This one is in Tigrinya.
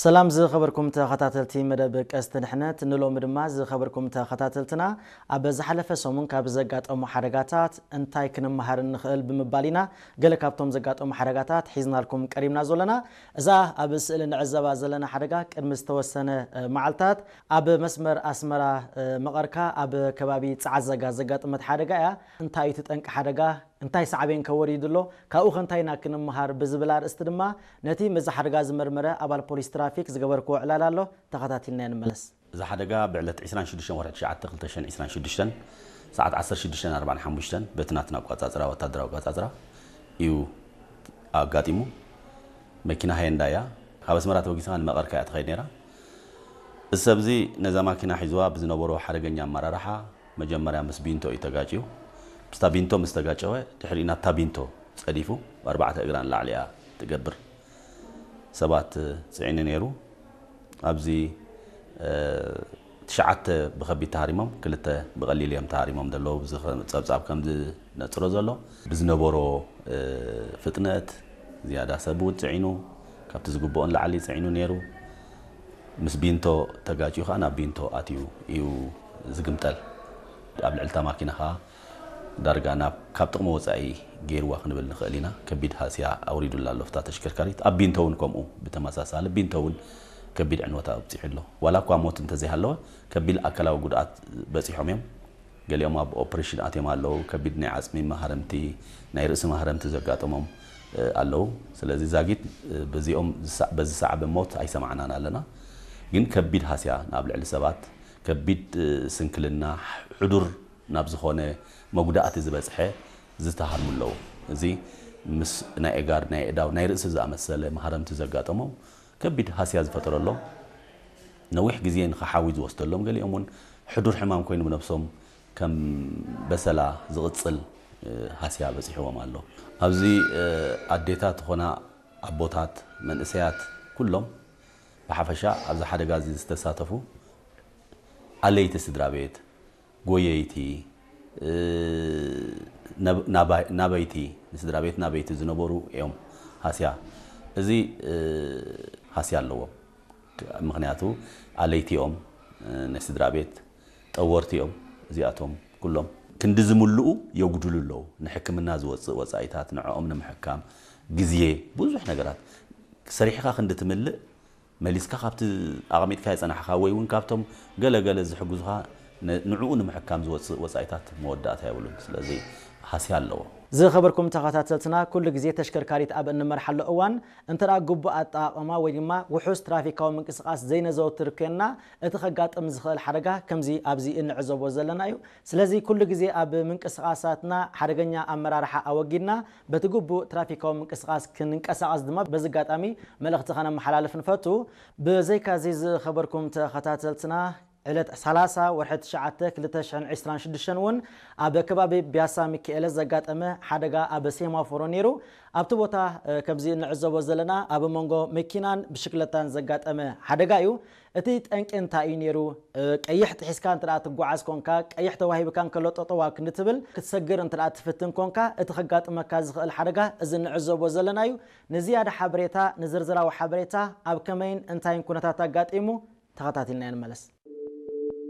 ሰላም ዝኸበርኩም ተኸታተልቲ መደብ ቀስት ድሕነት፣ ንሎሚ ድማ ዝኸበርኩም ተኸታተልትና ኣብ ዝሓለፈ ሰሙን ካብ ዘጋጠሙ ሓደጋታት እንታይ ክንመሃር ንኽእል ብምባል ኢና ገለ ካብቶም ዘጋጠሙ ሓደጋታት ሒዝናልኩም ቀሪብና ዘለና። እዛ ኣብ ስእሊ ንዕዘባ ዘለና ሓደጋ ቅድሚ ዝተወሰነ መዓልታት ኣብ መስመር ኣስመራ መቐርካ ኣብ ከባቢ ጸዓዘጋ ዘጋጠመት ሓደጋ እያ። እንታይ እዩ እቲ ጠንቂ ሓደጋ? እንታይ ሳዕቤን ከ ወሪዱ ኣሎ? ካብኡ ከ እንታይ ኢና ክንመሃር? ብዝብል ኣርእስቲ ድማ ነቲ ምስዚ ሓደጋ ዝመርመረ ኣባል ፖሊስ ትራፊክ ዝገበርክዎ ዕላል ኣሎ። ተኸታቲልና ንመለስ። እዚ ሓደጋ ብዕለት ዕስራን ሽዱሽተን ወርሒ ትሽዓተ ክልተ ሽሕን ዕስራን ሽዱሽተን ሰዓት ዓሰርተ ሽዱሽተ ኣርባዓን ሓሙሽተን በቲ ናትና ኣቋጻጽራ፣ ወታደራዊ ኣቋጻጽራ እዩ ኣጋጢሙ። መኪና ሃየንዳ እያ። ካብ ኣስመራ ተበጊሳ ንመቐርካ እያ ትኸይድ ነይራ። እዚ ሰብ እዚ ነዛ ማኪና ሒዝዋ ብዝነበሮ ሓደገኛ ኣመራርሓ መጀመርያ ምስ ቢንቶ እዩ ተጋጭዩ። ምስታ ቢንቶ ምስ ተጋጨወ ድሕሪኡ ናብታ ቢንቶ ጸዲፉ ብኣርባዕተ እግራ ንላዕሊ እያ ትገብር ሰባት ጽዒኑ ነይሩ። ኣብዚ ትሽዓተ ብኸቢድ ተሃሪሞም፣ ክልተ ብቐሊል እዮም ተሃሪሞም ዘለዉ። እዚ ጸብጻብ ከም ዝነጽሮ ዘሎ ብዝነበሮ ፍጥነት ዝያዳ ሰብ እውን ጽዒኑ፣ ካብቲ ዝግብኦ ንላዕሊ ጽዒኑ ነይሩ። ምስ ቢንቶ ተጋጭዩ ከዓ ናብ ቢንቶ ኣትዩ እዩ ዝግምጠል። ኣብ ልዕልታ ማኪና ከዓ ዳርጋ ናብ ካብ ጥቕሚ ወፃኢ ገይርዋ ክንብል ንኽእል ኢና። ከቢድ ሃስያ ኣውሪዱላ ኣሎ ፍታ ተሽከርካሪት። ኣብ ቢንቶ እውን ከምኡ ብተመሳሳሊ ቢንቶ እውን ከቢድ ዕንወት ኣብፂሑ ኣሎ። ዋላ እኳ ሞት እንተዘይሃለወ ከቢድ ኣካላዊ ጉድኣት በፂሖም እዮም። ገሊኦም ኣብ ኦፕሬሽን ኣትዮም ኣለዉ። ከቢድ ናይ ዓፅሚ ማህረምቲ፣ ናይ ርእሲ ማህረምቲ ዘጋጠሞም ኣለዉ። ስለዚ ዛጊት በዚኦም በዚ ሰዓበ ሞት ኣይሰማዕናን ኣለና። ግን ከቢድ ሃስያ ናብ ልዕሊ ሰባት፣ ከቢድ ስንክልና፣ ሕዱር ናብ ዝኾነ መጉዳእቲ ዝበፅሐ ዝተሃርሙ ኣለዉ። እዚ ምስ ናይ እጋር፣ ናይ እዳው፣ ናይ ርእሲ ዝኣመሰለ ማህረምቲ ዘጋጠሞም ከቢድ ሃስያ ዝፈጠረሎም፣ ነዊሕ ግዜ ንኸሓዊ ዝወስደሎም፣ ገሊኦም እውን ሕዱር ሕማም ኮይኑ ብነብሶም ከም በሰላ ዝቕጽል ሃስያ በጺሕዎም ኣሎ። ኣብዚ ኣዴታት ኾና ኣቦታት፣ መንእሰያት፣ ኩሎም ብሓፈሻ ኣብዚ ሓደጋ እዚ ዝተሳተፉ ኣለይቲ ስድራ ቤት፣ ጎየይቲ፣ ናበይቲ፣ ንስድራ ቤት ናበይቲ ዝነበሩ እዮም ሃስያ። እዚ ሃስያ ኣለዎም። ምኽንያቱ ኣለይቲ እዮም፣ ናይ ስድራ ቤት ጠወርቲ እዮም። እዚኣቶም ኩሎም ክንዲ ዝምልኡ የጉድሉ ኣለዉ። ንሕክምና ዝወፅእ ወፃኢታት፣ ንዕኦም ንምሕካም ግዜ፣ ብዙሕ ነገራት ሰሪሕኻ ክንዲ ትምልእ መሊስካ ካብቲ ኣቐሚጥካ የጸናሕኻ ወይ እውን ካብቶም ገለ ገለ ዝሕግዙኻ ንዕኡ ንምሕካም ዝወፅእ ወፃኢታት መወዳእታ የብሉን። ስለዚ ሃስያ ኣለዎ። ዝኸበርኩም ተኸታተልትና፣ ኩሉ ግዜ ተሽከርካሪት ኣብ እንመርሓሉ እዋን እንተ ደኣ ግቡእ ኣጠቓቕማ ወይ ድማ ውሑስ ትራፊካዊ ምንቅስቓስ ዘይነዘውትር ኮይንና፣ እቲ ከጋጥም ዝኽእል ሓደጋ ከምዚ ኣብዚ እንዕዘቦ ዘለና እዩ። ስለዚ ኩሉ ግዜ ኣብ ምንቅስቓሳትና ሓደገኛ ኣመራርሓ ኣወጊድና በቲ ግቡእ ትራፊካዊ ምንቅስቓስ ክንንቀሳቐስ ድማ በዚ ኣጋጣሚ መልእኽቲ ከነመሓላልፍ ንፈቱ። ብዘይካዚ ዝኸበርኩም ተኸታተልትና፣ ዕለት ሰላሳ ወርሒ ትሽዓተ ክልተ ሽሕን ዕስራን ሽዱሽተን እውን ኣብ ከባቢ ቢያሳ ሚካኤለ ዘጋጠመ ሓደጋ ኣብ ሴማፎሮ ነይሩ። ኣብቲ ቦታ ከምዚ እንዕዘቦ ዘለና ኣብ መንጎ መኪናን ብሽክለታን ዘጋጠመ ሓደጋ እዩ። እቲ ጠንቂ እንታይ እዩ ነይሩ? ቀይሕ ጥሒስካ እንተ ትጓዓዝ ኮንካ፣ ቀይሕ ተዋሂብካ እንከሎ ጠጠዋ ክንዲ ትብል ክትሰግር እንተ ትፍትን ኮንካ፣ እቲ ከጋጥመካ ዝኽእል ሓደጋ እዚ እንዕዘቦ ዘለና እዩ። ንዝያዳ ሓበሬታ፣ ንዝርዝራዊ ሓበሬታ ኣብ ከመይን እንታይን ኩነታት ኣጋጢሙ ተኸታቲልና ንመለስ።